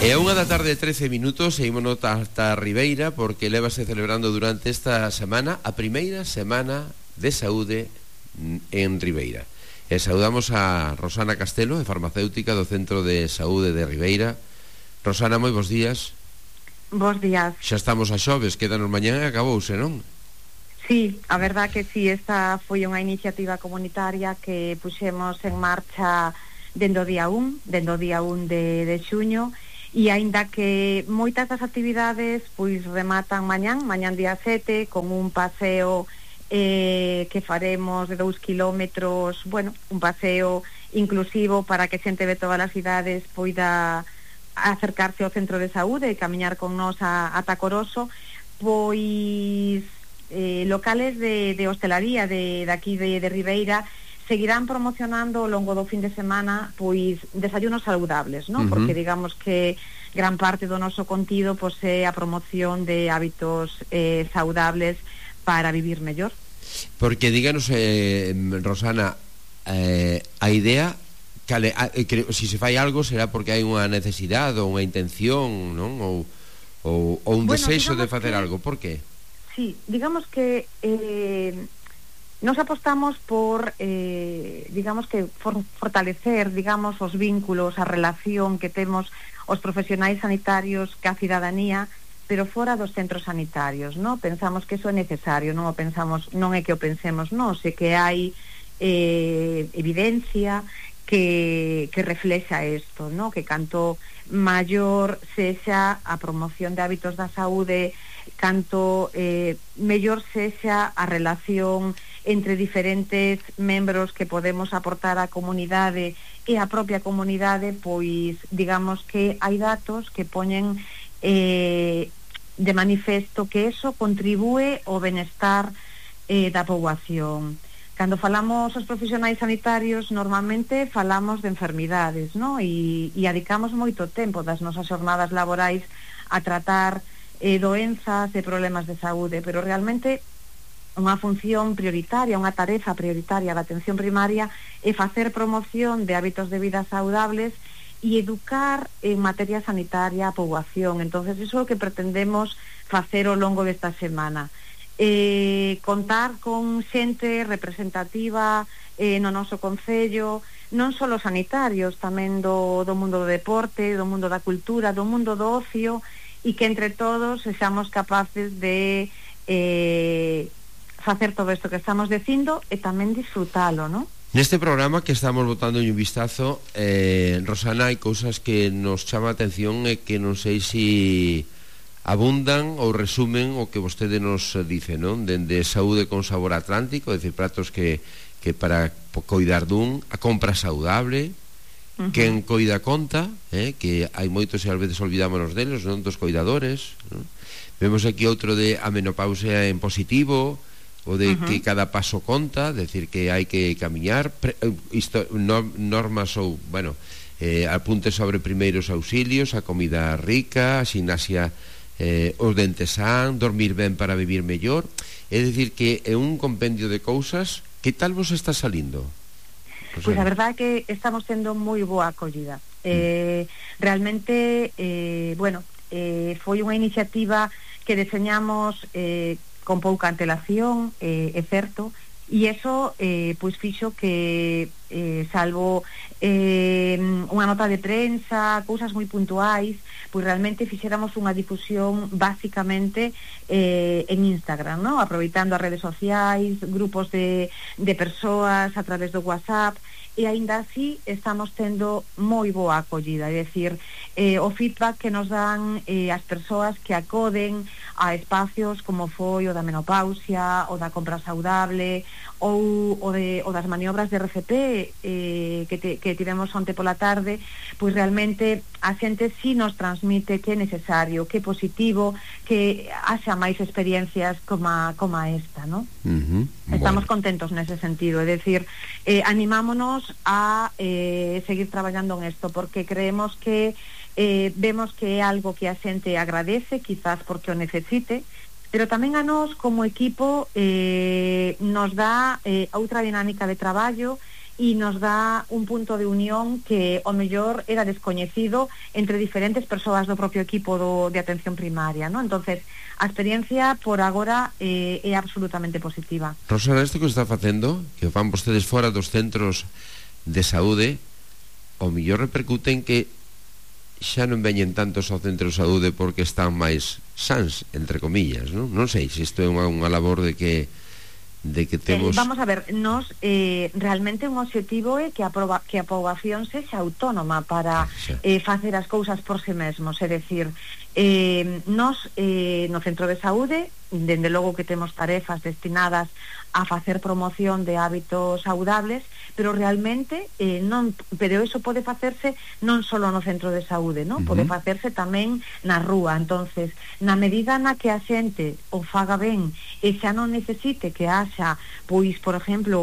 É unha da tarde 13 minutos e ímonos hasta Ribeira porque lévase celebrando durante esta semana a primeira semana de saúde en Ribeira. E saudamos a Rosana Castelo, farmacéutica do Centro de Saúde de Ribeira. Rosana, moi bons días. Bos días. Xa estamos a xoves, quedanos mañá e acabouse, non? Sí, a verdad que sí, esta foi unha iniciativa comunitaria que puxemos en marcha dende o día 1 de xuño, e aínda que moitas das actividades pois rematan mañán día 7 con un paseo que faremos de 2 kilómetros, bueno, un paseo inclusivo para que xente de todas as cidades poida acercarse ao centro de saúde e camiñar con nós ata Coroso. Pois locales de hostelaría de aquí de Ribeira seguirán promocionando ao longo do fin de semana pois desayunos saludables, ¿no? Porque digamos que gran parte do noso contido pois é a promoción de hábitos saudables para vivir mellor. Porque díganos, Rosana, a idea si se fai algo será porque hai unha necesidade ou unha intención, non? Ou un desexo de facer algo, por que? Sí, digamos que nos apostamos por fortalecer, os vínculos, a relación que temos os profesionais sanitarios ca cidadanía, pero fora dos centros sanitarios, ¿no? Pensamos que eso é necesario, non é que o pensemos, non, sei que hai evidencia que reflexa isto, ¿no? Que canto maior sexa a promoción de hábitos da saúde, canto mellor sexa a relación entre diferentes membros que podemos aportar á comunidade e a propia comunidade, pois digamos que hai datos que poñen de manifesto que eso contribúe ao benestar da poboación. Cando falamos os profesionais sanitarios, normalmente falamos de enfermidades, ¿no? E adicamos moito tempo das nosas jornadas laborais a tratar doenzas e problemas de saúde, pero realmente unha función prioritaria, unha tarefa prioritaria da atención primaria é facer promoción de hábitos de vida saudables e educar en materia sanitaria a poboación. Entonces, iso é o que pretendemos facer ao longo desta semana. Contar con xente representativa no noso concello, non só os sanitarios, tamén do mundo do deporte, do mundo da cultura, do mundo do ocio, e que entre todos sexamos capaces de facer todo isto que estamos dicindo e tamén disfrutalo, non? Neste programa que estamos botando un vistazo, Rosana, hai cousas que nos chama a atención e que non sei se abundan ou resumen o que vostede nos dice, non? Dende saúde con sabor atlántico, é dicir, pratos que para coidar dun, a compra saudable, quen coida conta, que hai moitos e ás veces olvidámonos deles, non? Dos coidadores, non? Vemos aquí outro de a menopausia en positivo, o de que cada paso conta, decir que hai que camiñar, normas ou, bueno, apuntes sobre primeiros auxilios, a comida rica, a ximnasia, os dentes san, dormir ben para vivir mellor. É dicir que é un compendio de cousas. Que tal vos está salindo? Pois a verdade é que estamos tendo moi boa acollida. Realmente, foi unha iniciativa que deseñamos con pouca antelación, é certo, e iso pois fixo que salvo unha nota de prensa, cousas moi puntuais, pois realmente fixéramos unha difusión basicamente en Instagram, ¿no? Aproveitando as redes sociais, grupos de persoas a través do WhatsApp, e aínda así estamos tendo moi boa acollida, é dicir, o feedback que nos dan as persoas que acoden a espacios como foi o da menopausia, o da compra saudable, ou o das maniobras de RCP que tivemos onte pola tarde, pois realmente a xente sí nos transmite que é necesario, que é positivo, que haxa máis experiencias como esta, ¿no? Estamos contentos nese sentido, é dicir, animámonos a seguir traballando en isto, porque creemos que vemos que é algo que a xente agradece, quizás porque o necesite, pero tamén a nós como equipo nos dá outra dinámica de traballo e nos dá un punto de unión que o mellor era descoñecido entre diferentes persoas do propio equipo de atención primaria, ¿no? Entonces, a experiencia por agora é absolutamente positiva. Rosana, isto que está facendo, que van vostedes fora dos centros de saúde, o mellor repercute en que xa non veñen tantos ao centro de saúde porque están máis sans, entre comillas, non? Non sei se isto é unha labor de que temos... Vamos a ver, nos realmente un objetivo é que a poboación sexa autónoma para facer as cousas por si mesmos, é dicir, nos no centro de saúde, dende logo que temos tarefas destinadas a facer promoción de hábitos saudables, pero realmente pero eso pode facerse non só no centro de saúde, non? Pode facerse tamén na rúa. Entonces, na medida na que a xente o faga ben e xa non necesite que haxa, pois, por exemplo,